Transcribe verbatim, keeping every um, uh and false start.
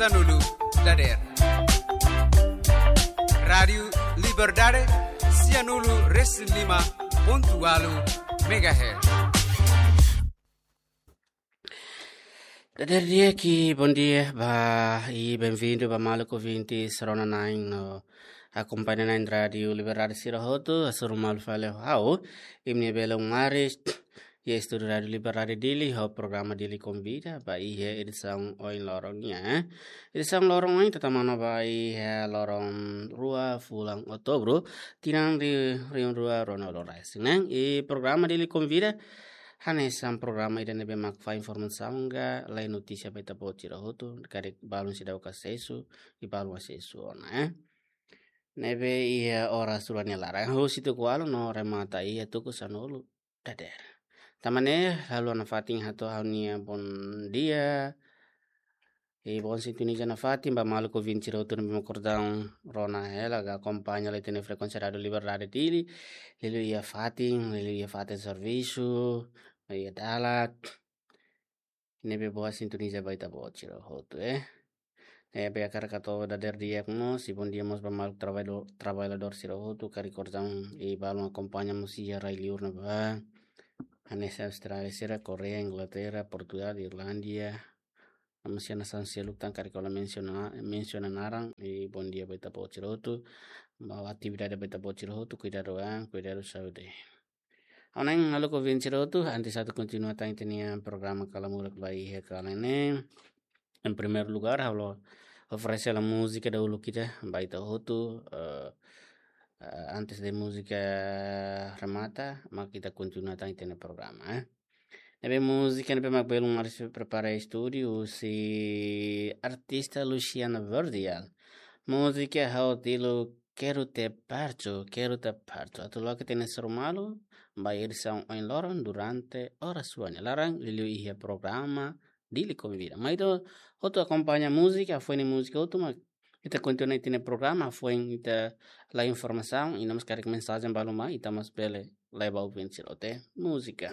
Sanulu dader. Rádiu Liberdade, sianulu resin lima pontu ualu megahertz. Dader di'ak, bom dia ba, i bem-vindo ba maluk ouvinte rona-na'in no akompaña na'in Rádiu Liberdade sira hotu, hasoru malu fali ho ha'u, imi-nia belun Maris, iha estúdiu Rádiu Liberdade Dili, ho programa Dili Konvida, ba iha edisaun ohin loron nian. Edisaun loron ohin, ita tama ona ba iha loron rua fulan Outubru, tinan rihun rua ruanulu-resin-neen. I programa Dili Konvida, hanesan programa ida ne'ebé mak fó informasaun ka, lori notísia ba ita-boot sira hotu, karik balun seidauk asesu, i balun asesu ona, eh. Ne'ebé iha oras rua nia laran, husi tuku ualu no remata iha tuku sanulu dader. Tanba ne'e, halo nafatin hato'o ha'u-nia bom dia. I bom sintoniza nafatin ba maluk ouvinte sira hotu ne'ebé mak kordang rona hela ka akompaña lori ita-nia frekuénsia Rádiu Liberdade Dili. Liuliu iha fatin, liuliu iha fatin servisu, iha dalan. Ne'ebé boa sintoniza ba ita-boot sira hotu, eh. Ne'ebé hakarak hato'o dader di'ak mós, i bom dia mós ba maluk trabalhado-, trabalhadór sira hotu, karik kordang i balun akompaña mós iha rai-liur ne'ebá. Hanesan Austrália sira, Koreia, Inglaterra, Portugal, Irlandia. Mós iha nasaun seluk tan karik ha'u la mensiona, mensiona naran, i bom dia ba ita-boot sira hotu. Ba atividade ba ita-boot sira hotu, kuidadu an, kuidadu saúde. Ha'u-nia maluk ouvinte sira hotu, antes atu kontinua tan ita-nia programa Kala Murak ba iha kalan ne'e. Em primeiro lugar, ha'u halo oferese hela múzika dahuluk ida ba ita hotu, eh, eh, antes de múzika remata, mak ita kontinua tan ita-nia programa, eh. Ne'ebé múzika ne'ebé mak belun Maris prepara estúdiu, husi artista Luciana Verdial. Múzika Ha'u Dilu Quero Te Perto, Quero Te Perto. Atu loke ita-nia hasoru malu ba edisaun ohin loron durante oras rua nia laran, liuliu iha programa Dili Konvida. Mai ita hotu akompaña múzika, hafoin múzika hotu mak ita kontinua ita-nia programa, hafoin ita lori informasaun, i no mós karik mensajen balun mai, ita mós bele lori ba ouvinte sira hotu. Múzika.